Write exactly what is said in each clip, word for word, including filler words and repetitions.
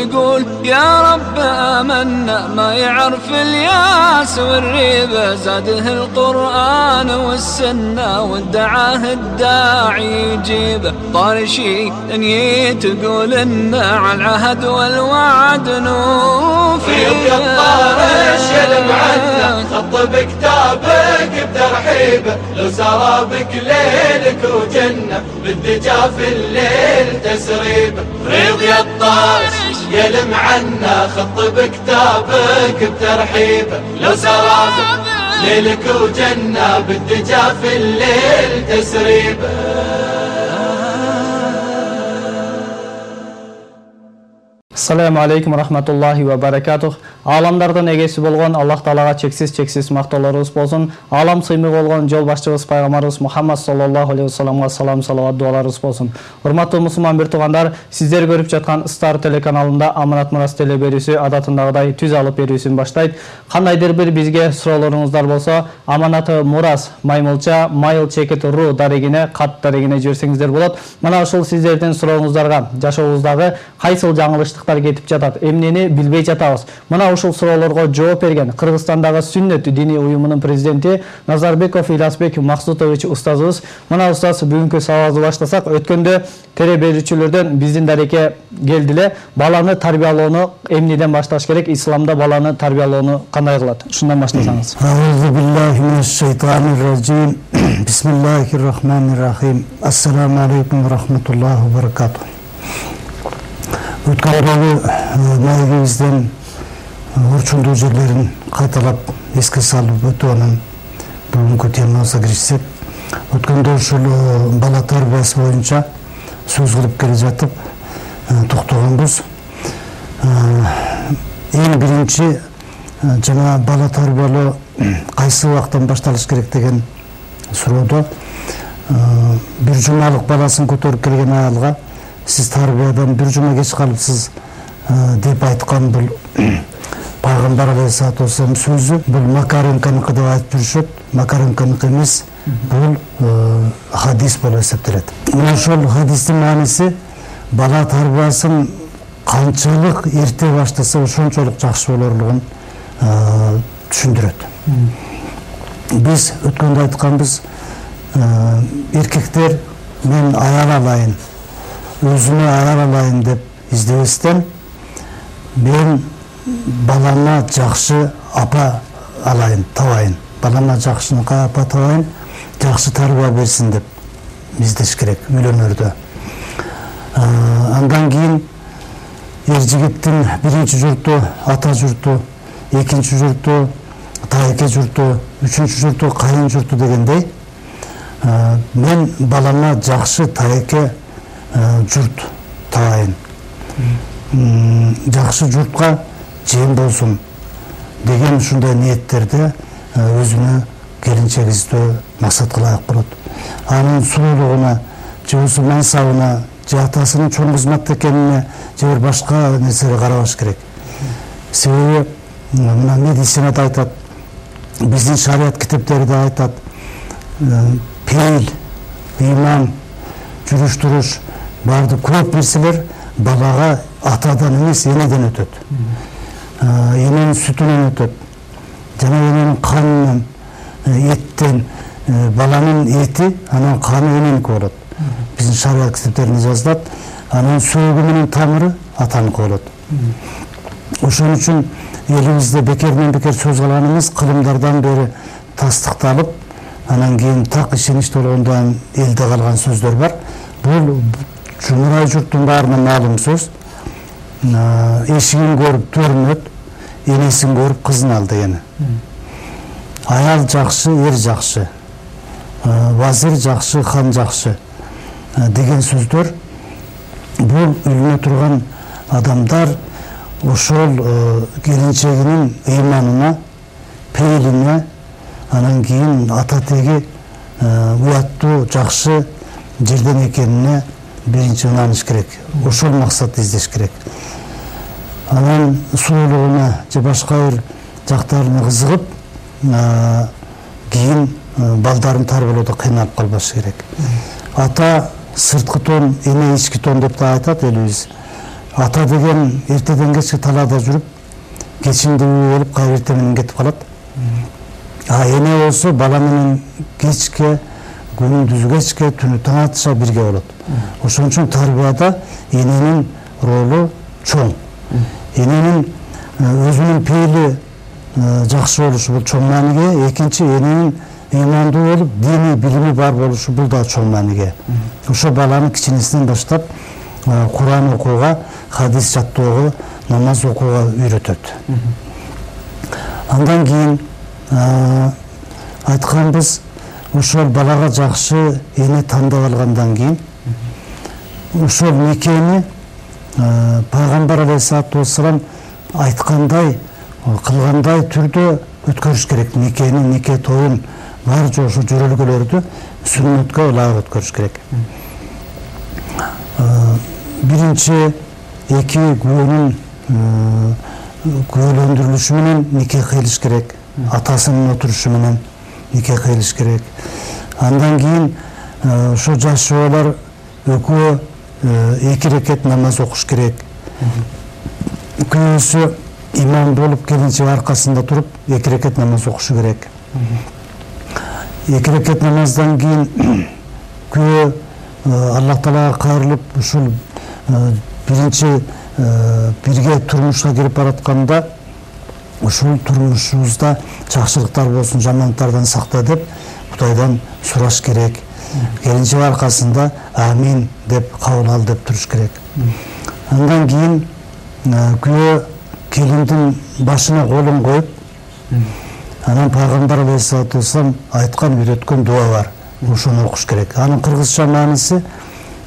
يقول يا رب آمنا ما يعرف الياس والريبة زاده القرآن والسنة وادعاه الداعي يجيبه طارشي دنيا تقول إنه على العهد والوعد نوفي يا الطارش يلم عنا خط بكتابك بترحيبه لو سرابك ليلك وجنة بالدجا في الليل تسريبه ريض يا الطارش يلم عنا خط بكتابك بترحيبه لو سرابك ليلك وجنة بالدجا في الليل تسريبه. Assalamu alaikum rahmatullahi wa barakatuh. Alamlardan egesi болгон Аллах Таалага чексиз чексиз мактоолорубуз болсун. Алам сыймык болгон жол башчыбыз пайгамбарыбыз Мухаммад саллаллаху алейхи вассаламга салам салават дуаларыбыз болсун. Урматтуу мусулман бир туугандар, сиздер көрүп жаткан Star телеканалында Аманат Мурас теле берүүсү адатындагыдай түз алып берүүсүн баштайт. Кандайдыр бир бизге суроолоруңуздар болсо, Аманаты Мурас маймылча mail cheket dot ru дарегине кат дарегине жиберсеңиздер болот. Мына ушул сиздердин сурооңуздарга жашообуздагы кайсыл жаңылыштыктар кетип жатат, эмнени билбей жатабыз. Мына ушул суроолорго жооп берген Кыргызстандагы Сүннөт диний уюмунун президенти Назарбеков Иласбек Максутович устазыбыз. Мына устаз бүгүнкү сабагыбызды баштасак, өткөндө тере берүүчүлөрдөн биздин дарекке келдиле. Баланы тарбиялоону эмнеден башташ керек? Исламда баланы тарбиялоону кандай кылат? Ушундан баштасаңыз. Аузу биллахи минаш шайтанир ражим. Бисмиллахир рахманир рахим. Ассаламу алейкум ва рахматуллахи ва баракатух. Өткөндөгү маегибизден орчундуу жерлерин кайталап эске салып өтүп анан бүгүнкү темабызга киришсек, өткөндө ушул бала тарбиясы боюнча сөз кылып келе жатып токтогонбуз. Эң биринчи жана бала тарбиялоо кайсы убактан башталыш керек деген суроодо бир жумалык баласын көтөрүп келген аялга сиз тарбиядан бир жума кеч калыпсыз деп айткан бул пайгамбар алейхиссалату вассалам сөзү. Бул Макаренканыкы деп айтып жүрүшөт. Макаренканыкы эмес, бул хадис болуп эсептелет. Мына ошол хадистин мааниси бала тарбиясын канчалык эрте баштаса ошончолук жакшы болорлугун түшүндүрөт. Биз өткөндө айтканбыз, эркектер мен аял алайын, өзүмө аял алайын деп издебестен, мен балама жакшы апа алайын, табайын, балама жакшыныкай апа табайын, жакшы тарбия берсин деп издеш керек үйлөнөрдө. Андан кийин эр жигиттин биринчи журту ата журту, экинчи журту тайке журту, үчүнчү журту кайын журту дегендей, мен балама жакшы тайке журт табайын, жакшы журтка жем болсун деген ушундай ниеттерде өзүнө келинчек издөө максат кылайык болот. Анын сулуулугуна, же болбосо мансабына, же атасынын чоң кызматта экенине, же бир башка нерсеге карабаш керек. Себеби мына медицинада айтат, биздин шарият китептерде айтат, пейил, ыйман, жүрүш туруш барды көп нерселер балага атадан эмес энеден өтөт. Эненин сүтүнөн өтөт. Жана эненин канынан, эттен, баланын эти, анан каны эненики болот. Биздин шарият китептеринде жазылат, анан сөөгү менен тамыры атаныкы болот. Ошон үчүн элибизде бекерден бекер сөз кылганыбыз кылымдардан бери тастыкталып, анан кийин так ишеничти болгондон элде калган сөздөр бар. Бул жумурай журттун баарына маалым сөз. Эшигин көрүп төрүн өт, энесин көрүп кызын ал дегени. Аял жакшы, эр жакшы, вазир жакшы, хан жакшы деген сөздөр бул үйлөнө турган адамдар ошол келинчегинин ыйманына, пейилине, анан кийин ата теги уяттуу жакшы жерден экенине биринчи ынаныш керек. Ошол максатты издеш керек. Анан сулуулугуна же башка бир жактарына кызыгып, кийин балдарын тарбиялоодо кыйналып калбаш керек. Ата сырткы тон, эне ички тон деп да айтат элибиз. ата деген эртеден кечке талаада жүрүп кечинде үйгө келип кайра эртең менен кетип калат. А эне болсо бала менен кечке, күндүз кечке, түнү таң атыша бирге болот. Ошон үчүн тарбияда эненин ролу чоң. Эненин өзүнүн пейили жакшы болушу бул чоң мааниге, экинчи эненин ыймандуу болуп диний билими бар болушу бул да чоң мааниге. Ошо баланы кичинесинен баштап Куран окууга, хадис жаттоого, намаз окууга үйрөтөт. Андан кийин айтканбыз, ошол балага жакшы эне тандап алгандан кийин ошол никени Пайгамбар алейхиссалату вассалам айткандай, кылгандай түрдө өткөрүш керек. Никени, нике тоюн бар жошу жөрөлгөлөрдү сүннөткө ылайык өткөрүш керек. Биринчи эки күбөнүн күбөлөндүрүлүшү менен нике кыйлыш керек. Атасынын отурушу менен нике кыйлыш керек. Андан кийин ошо жаш жоболор экөө эки рекет намаз окуш керек. Күйөөсү имам болуп келинчек аркасында туруп эки рекет намаз окушу керек. Эки рекет намаздан кийин күйөө Аллах Таалага кайрылып ушул биринчи бирге турмушка кирип баратканда ушул турмушубузда жакшылыктар болсун, жамандыктардан сакта деп Кудайдан сураш керек. Келинчек аркасында амин деп кабыл ал деп туруш керек. Андан кийин күйөө келиндин башына колун коюп, анан Пайгамбар алейхиссалату вассалам айткан, үйрөткөн дуа бар. Ошону окуш керек. Анын кыргызча мааниси: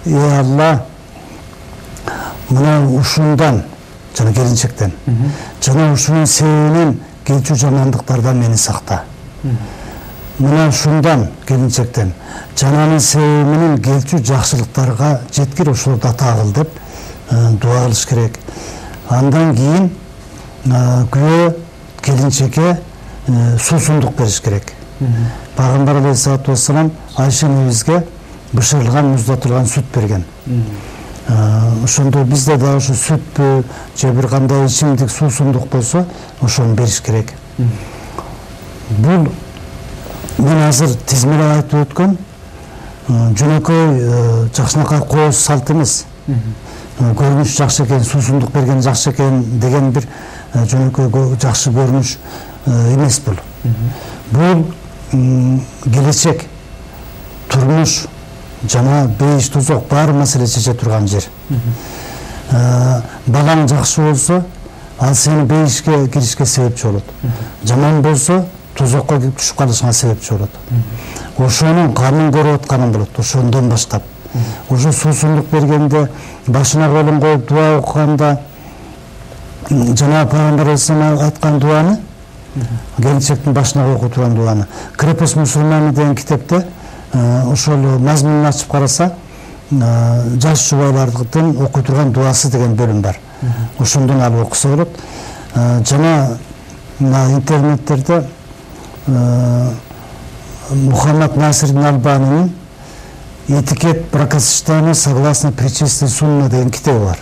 "Эй Алла, мына ушундан, жана келинчектен, жана ушунун себебинен келчү жамандыктардан мени сакта. Мына ушундан, келинчектен, жананын себеби менен келчү жакшылыктарга жеткир, ошолорду ата кыл" деп дуа кылыш керек. Андан кийин күйөө келинчекке суусундук бериш керек. Пайгамбар алейхиссалату вассалам Айша энебизге бышырылган, муздатылган сүт берген. Ошондо бизде да ошо сүтпү же бир кандай ичимдик суусундук болсо, ошону бериш керек. Бул мен азыр тизмелеп айтып өткөн жөнөкөй жакшынакай кооз салт эмес. Көрүнүш жакшы экен, суусундук берген жакшы экен деген бир жөнөкөй жакшы көрүнүш эмес бул. Бул келечек, турмуш жана бейиш тозок бар маселе чече турган жер. Балаң жакшы болсо, ал сени бейишке киришке себепчи болот. Жаман болсо, тозокко түшүп калышыңа себепчи болот. Ошонун канын көрүп атканың болот, ошондон баштап. Ошо суусундук бергенде, башына колун коюп дуа окуганда, жана Пайгамбар алейхиссалам айткан дуаны, келинчектин башына окуп турган дуаны. Крепость мусульманы деген китепте ошол мазмунун ачып караса, жаш жубайлардын окуй турган дуасы деген бөлүм бар. Ошондон алып окуса болот. Жана интернеттерде Мухаммад Насирдин Албанинин "Этикет бракосочетания согласно причистой сунна" деген китеби бар.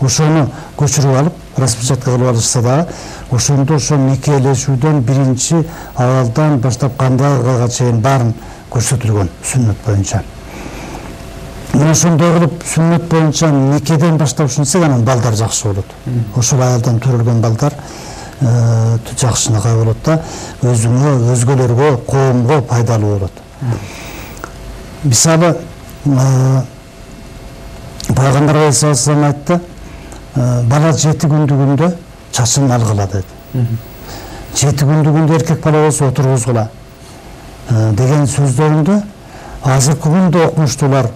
Ошону көчүрүп алып, распечатка кылып алышса дагы, ошондо ошо никелешүүдөн биринчи абалдан баштап кандай кылга чейин баарын көрсөтүлгөн сүннөт боюнча. Мына ошондой кылып сүннөт боюнча никеден баштап ушинтсек, анан балдар жакшы болот. Ошол аялдан төрөлгөн балдар жакшынакай болот да, өзүңө, өзгөлөргө, коомго пайдалуу болот. Мисалы, Пайгамбар алейхиссалам айтты, бала жети күндүгүндө чачын алгыла деди. Жети күндүгүндө эркек бала болсо отургузгула деген сөздөрүндө азыркы күндө окумуштуулар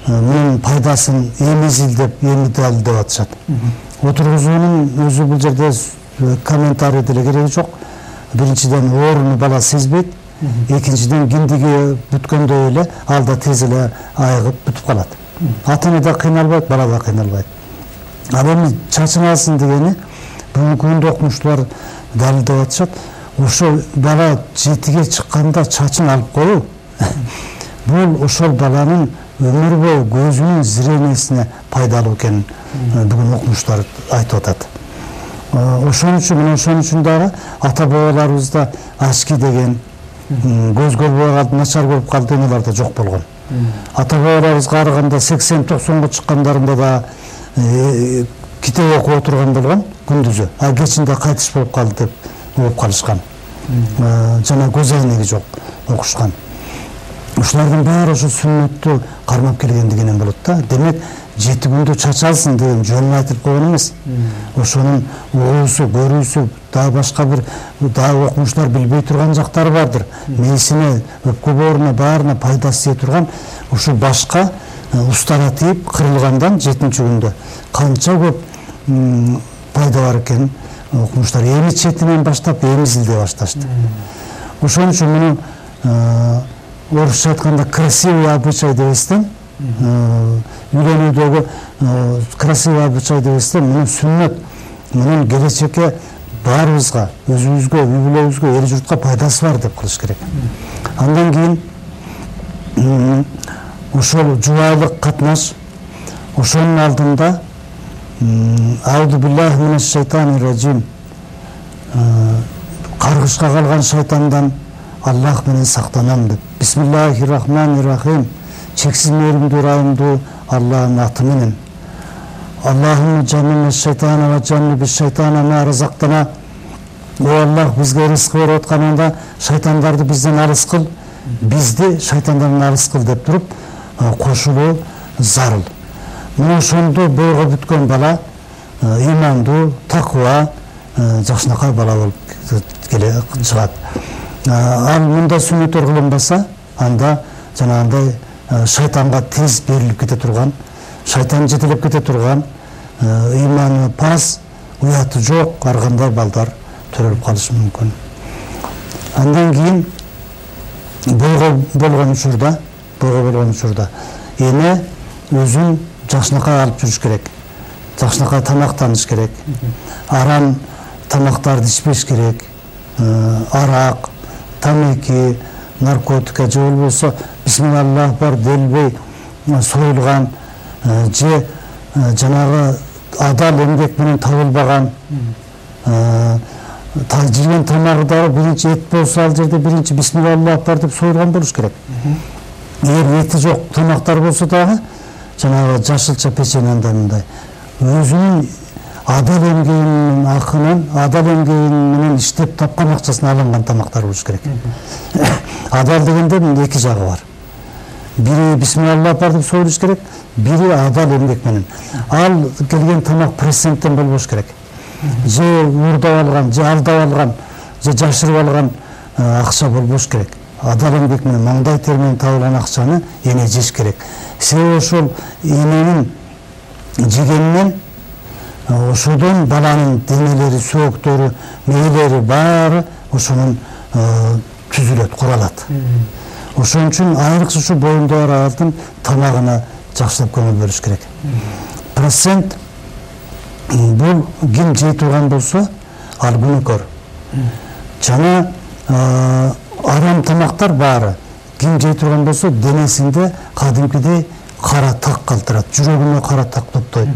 мунун пайдасын эми изилдеп, эми далилдеп атышат. Отургузуунун өзү бул жерде комментарий деле кереги жок. Биринчиден ооруну бала сезбейт, экинчиден киндиги бүткөндө эле ал да тез эле айыгып бүтүп калат. Ата-эне да кыйналбайт, бала да кыйналбайт. Ал эми чачын алсын дегени бүгүнкү күндө окумуштуулар далилдеп атышат. Ошо бала жетиге чыкканда чачын алып коюу бул ошол баланын өмүр бою көзүнүн зрениесине пайдалуу экенин бүгүн окумуштар айтып атат. Ошон үчүн мына ошон үчүн дагы ата бабаларыбызда ачки деген көз көрбөй калды, начар көрүп калды дегендер да жок болгон. Ата бабаларыбызга караганда сексен токсонго чыккандарында да китеп окуп отурган болгон күндүзү, а кечинде кайтыш болуп калды деп угуп калышкан. Жана көз айнеги жок окушкан. Ушулардын баары ошо сүннөттү кармап келгендигинен болот да. Демек жети күндө чачалсын деген жөнүн айтылып койгон эмес. Ошонун угуусу, көрүүсү, дагы башка бир дагы окумуштар билбей турган жактары бардыр. Мээсине, өпкө бооруна баарына пайдасы тие турган ушу башка устара тийип кырылгандан жетинчи күндө канча көп пайда бар экенин окумуштар эми четинен баштап эмизилдей башташты. Ошон үчүн муну орусча айтканда красивый обычай дебестен, үйлөнүүдөгү красивый обычай дебестен муну сүннөт, мунун келечекке баарыбызга, өзүбүзгө, үй бүлөбүзгө, эл журтка пайдасы бар деп кылыш керек. Андан кийин ошол жубайлык катнаш, ошонун алдында Ауду биллахи минаш шайтанир раджим, каргышка калган шайтандан Аллах менен сактанам деп. Бисмиллахир рахманир рахим. Чексиз мээримдүү, ырайымдуу Аллахтын аты менен. Аллахумма джаннибна шайтана ва джанниби шайтана ма разактана. О Аллах, бизге рызык берип атканыңда шайтандарды бизден алыс кыл, бизди шайтандардан алыс кыл деп туруп кошулуу зарыл. Мына ошондо бойго бүткөн бала имандуу, таква, жакшынакай бала болуп келе чыгат. Ал мындай сүннөттөр кылынбаса, анда жанагындай шайтанга тез берилип кете турган, шайтан жетелеп кете турган, иманы пас, уяты жок, ар кандай балдар төрөлүп калышы мүмкүн. Андан кийин бойго болгон учурда, бойго болгон учурда эне өзүн жакшынакай алып жүрүш керек. Жакшынакай тамактаныш керек. Арам тамактарды ичпеш керек. Арак, тамеки, наркотика же болбосо бисмиллах бар делбей союлган же жанагы адал эмгек менен табылбаган жеген тамагы дагы биринчи эт болсо ал жерде биринчи бисмиллах бар деп союлган болуш керек. Эгер эти жок тамактар болсо дагы жанагы жашылча печенье мындай өзүнүн адал эмгегинин акынан, адал эмгеги менен иштеп тапкан акчасын алынган тамактар болуш керек. Адал дегенде эки жагы бар. Бири бисмиллах бар деп союлуш керек, бири адал эмгек менен. Ал келген тамак проценттен болбош керек. Же уурдап алган, же алдап алган, же жашырып алган акча болбош керек. Адал эмгек менен маңдай тер менен табылган акчаны эне жеш керек. Себеби ошол эненин жегенинен ошодон баланын денелери, сөөктөрү, мээлери баары ошонун түзүлөт, куралат. Ошон үчүн айрыкча ушу боюнда бар аялдын тамагына жакшылап көңүл бөлүш керек. Процент бул ким жей турган болсо, ал күнөөкөр. Жана арам тамактар баары ким жей турган болсо, денесинде кадимкидей кара так калтырат, жүрөгүнө кара так топтойт,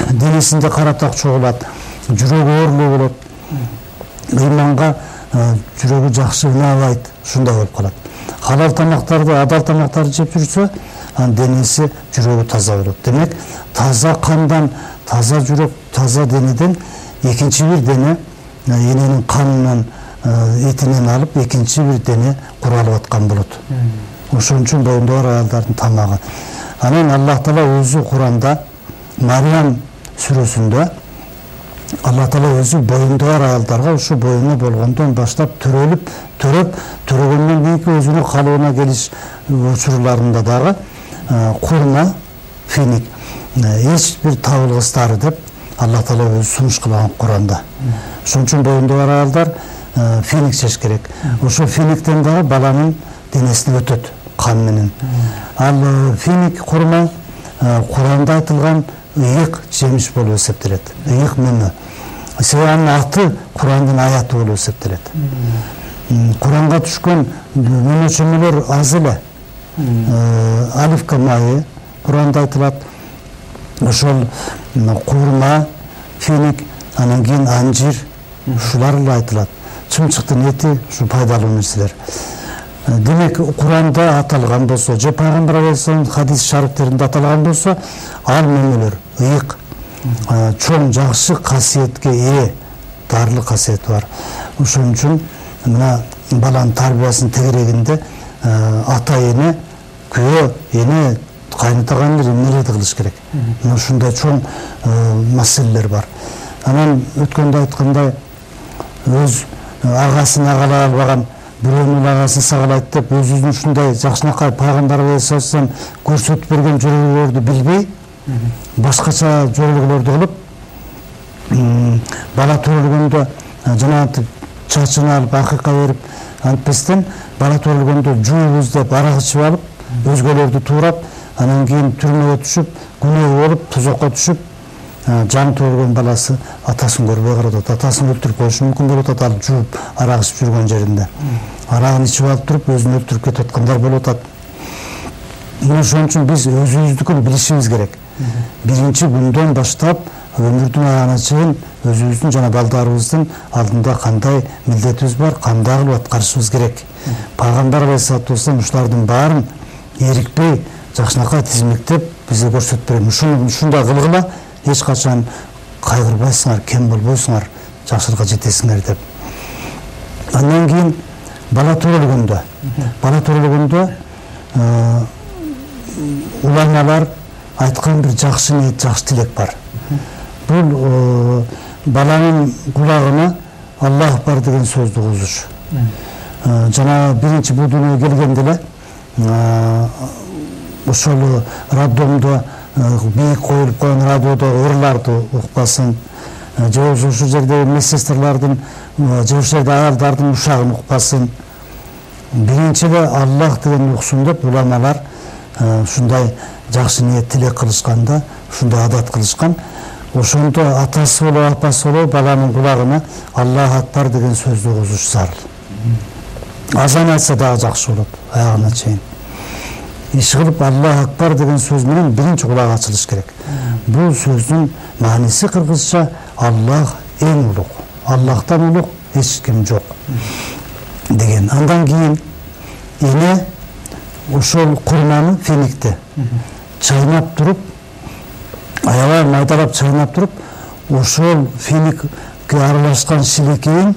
денесинде кара так чогулат, жүрөгү оорлуу болот, ыйманга жүрөгү жакшы ынаабайт, ушундай болуп калат. Халал тамактарды, адал тамактарды жеп жүрсө, анын денеси, жүрөгү таза болот. Демек, таза кандан, таза жүрөк, таза денеден экинчи бир дене эненин канынан, этинен алып, экинчи бир дене куралып аткан болот. Ошон үчүн боюнда бар аялдардын тамагы. Анан Аллах Таала өзү Куранда, Мариям сүрөсүндө Аллах Таала өзү боюнда бар аялдарга ушу боюна болгондон баштап төрөлүп, төрөп, төрөгөндөн кийинки өзүнүн калыбына келиш учурларында дагы курма, финик, эч бир табылгыстары деп Аллах Таала өзү сунуш кылган Куранда. Ошон үчүн боюнда бар аялдар финик жеш керек. Ошо финиктен дагы баланын денесине өтөт кан менен. Ал финик курма Куранда айтылган ыйык жемиш болуп эсептелет. Ыйык мөмө. Себеби анын аты Курандын аяты болуп эсептелет. Куранга түшкөн мөмөчөмөлөр аз эле. Алифка майы Куранда айтылат. ошол курма, финик, анан кийин анжир ушулар эле айтылат. Чымчыктын эти ушу пайдалуу нерселер. Демек Куранда аталган болсо, же Пайгамбар алейхиссалам хадис шарифтеринде аталган болсо, ал мемелер ыйык, чоң жакшы касиетке ээ, дарылык касиети бар. Ошон үчүн мына баланын тарбиясын тегерегинде ата эне, күйөө эне, кайнатаган эмнелерди кылыш керек. Мына ушундай чоң маселелер бар. Анан өткөндө айткандай, өз агасын агалай албаган бирөөнүн агасын сагалайт деп өзүнүн ушундай жакшынакай Пайгамбар алейхиссалам көрсөтүп берген жөрөгөлөрдү билбей, башкача жөрөгөлөрдү кылып, бала төрөлгөндө жанагынтип чачын алып, акыйка берип, антпестен бала төрөлгөндө жуубуз деп арак ичип алып, өзгөлөрдү туурап, анан кийин түрмөгө түшүп, күнөө болуп, тузакка түшүп, жаңы төрөлгөн баласы атасын көрбөй калат. Атасын өлтүрүп коюшу мүмкүн болуп атат, ал жууп, арак ичип жүргөн жеринде. Арагын ичип алып туруп, өзүн өлтүрүп кетип аткандар болуп атат. Ошон үчүн биз өзүбүздүкүн билишибиз керек. Биринчи күндөн баштап өмүрдүн аягына чейин өзүбүздүн жана балдарыбыздын алдында кандай милдетибиз бар, кандай кылып аткарышыбыз керек. Пайгамбар алейхиссалату вассалам ушулардын баарын эрикпей, жакшынакай тизмектеп бизге көрсөтүп берген. Ушундай кылгыла, эч качан кайгырбайсыңар, кем болбойсуңар, жакшылыкка жетесиңер деп. Андан кийин бала төрөлгөндө, бала төрөлгөндө уламалар айткан бир жакшы ниет, жакшы тилек бар. Бул баланын кулагына Аллах бар деген сөздү кугузуш. Жана биринчи бул дүйнөгө келгенде эле ошол роддомдо бийик коюлуп койгон радиодо ырларды укпасын, же болбосо ушул жердеги медсестралардын, же ушул жерде аялдардын ушагын укпасын. Биринчи эле Аллах деген уксун деп уламалар ушундай жакшы ниет тилек кылышканда, ушундай адат кылышкан. Ошондо атасы болобу, апасы болобу баланын кулагына Аллах акбар деген сөздү кугузуш зарыл. Азан айтса дагы жакшы болот, аягына чейин. Иш кылып Аллах акбар деген сөз менен биринчи кулак ачылыш керек. Бул сөздүн мааниси кыргызча Аллах эң улук, Аллахтан улук эч ким жок деген. Андан кийин эне ошол курманы, феникти чайнап туруп, аябай майдалап чайнап туруп, ошол феникке аралашкан шилекейин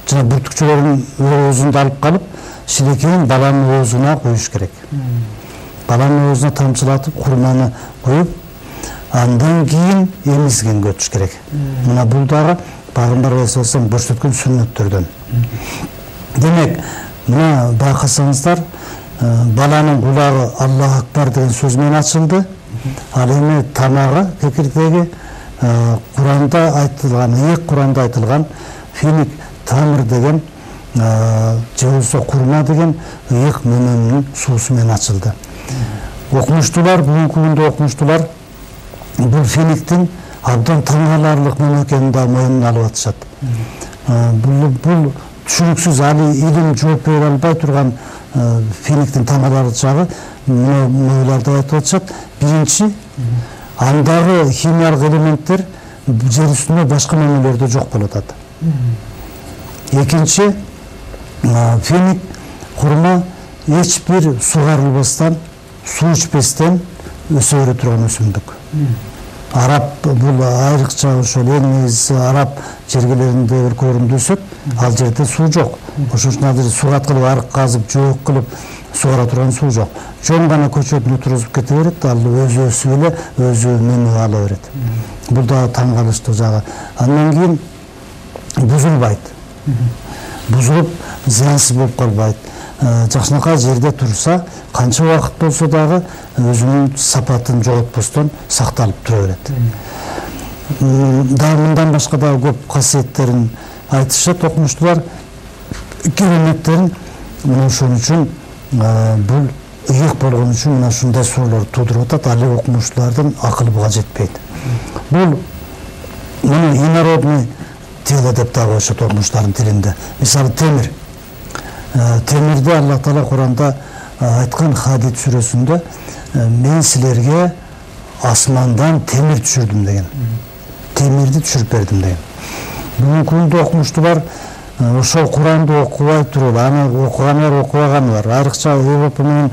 жана бүртүкчөлөрүн оозунда алып калып, шилекейин баланын оозуна коюш керек. Баланын оозуна тамчылатып, курманы коюп, андан кийин эмизгенге өтүш керек. Мына бул дагы Пайгамбар алейхиссалам көрсөткөн сүннөттөрдөн. Демек, мына байкасаңыздар, баланын кулагы Аллах акбар деген сөз менен ачылды. Ал эми тамагы, кекиртеги Куранда айтылган, ыйык Куранда айтылган финик тамыр деген, же болбосо курма деген ыйык мөмөнүн суусу менен ачылды. Окумуштуулар, бүгүнкү күндө окумуштуулар бул финиктин абдан таң каларлык мөмө экенин да моюнуна алып атышат. Бул бул түшүнүксүз, али илим жооп бере албай турган финиктин таң каларлык жагы моюларда айтып атышат. Биринчи, андагы химиялык элементтер жер үстүндө башка мөмөлөрдө жок болуп атат. Экинчи, финик, курма эч бир сугарылбастан, суу ичпестен өсө бере турган өсүмдүк. Араб бул айрыкча ошол эң негизгиси араб жергелеринде, өлкөлөрүндө өсөт, ал жерде суу жок. Ошон үчүн ал жерде сугат кылып, арык казып, жоок кылып сугара турган суу жок. Жөн гана көчөдүн отургузуп кете берет, ал өзү өсүп эле, өзү мөмө ала берет. Бул да таң калыштуу жагы. Андан кийин бузулбайт. Бузулуп зыянсыз болуп калбайт. Жакшынакай жерде турса, канча убакыт болсо дагы өзүнүн сапатын жоготпостон сакталып тура берет. Дагы мындан башка дагы көп касиеттерин айтышат окумуштуулар, кереметтерин. Ошон үчүн бул ыйык болгон үчүн мына ушундай суроолор туудуруп атат, али окумуштуулардын акылы буга жетпейт. Бул муну инородный тело деп дагы коюшат окумуштуулардын тилинде. Мисалы темир. Темирде Аллах Таала Куранда айткан Хадид сүрөсүндө мен силерге асмандан темир түшүрдүм деген. Темирди түшүрүп бердим деген. Бүгүнкү күндө окумуштуу бар, ошол Куранды окубай туруп, аны окуганы бар, окубаганы бар. Айрыкча Европа менен